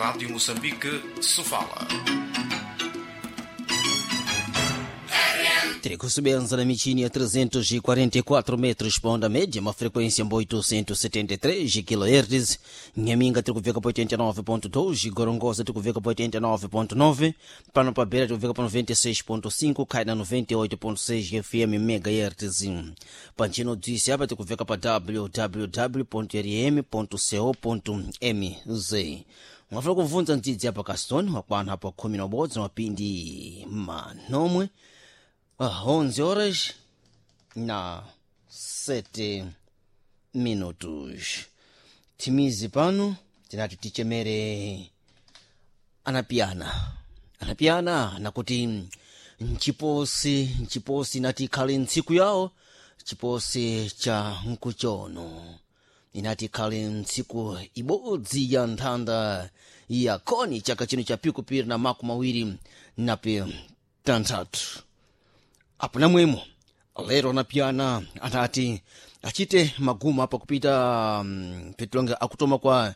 Rádio Moçambique, Sofala. Tiri kusebenza na michini ya 344 metros pa onda média, uma frequência 873 kHz. Nhaminga tiri kuveka pa 89.2, Gorongosa tiri kuveka pa 89.9, pano pa Beira tiri kuveka pa 96.5, Kaina 98.6 FM MHz. Pantchino dzisi apa tiri kuveka pa www.rm.co.mz. Mwafuna kubvunza mdzidzi apa Caston wakwana apa 11 mapindi manomwe. 11 horas na 7 minutos. Timizi pano tinati tichemere anapiana anapiana nakuti nchiposi inati ikhale ntsiku yawo chiposi cha nkuchono inati ikhale ntsiku ibodzi ya nthanda ya koni chaka chino cha pikupiri na 26 apo namwemo lero anapiana anati achite maguma apa kupita petilonga akutoma kwa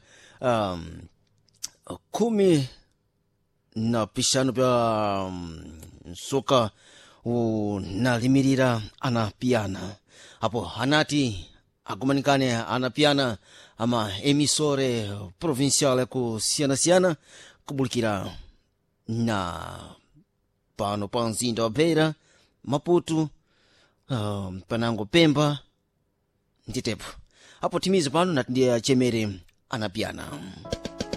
15 pya msoka unalimirira anapiana apo anati agumanikane anapiana ama emisore provincial kusiyana-siyana kubulikira na pano pa mzinda wa Beira, Maputo, panango Pemba nditepo apo timizi pano nati ndiye achemere anapiana.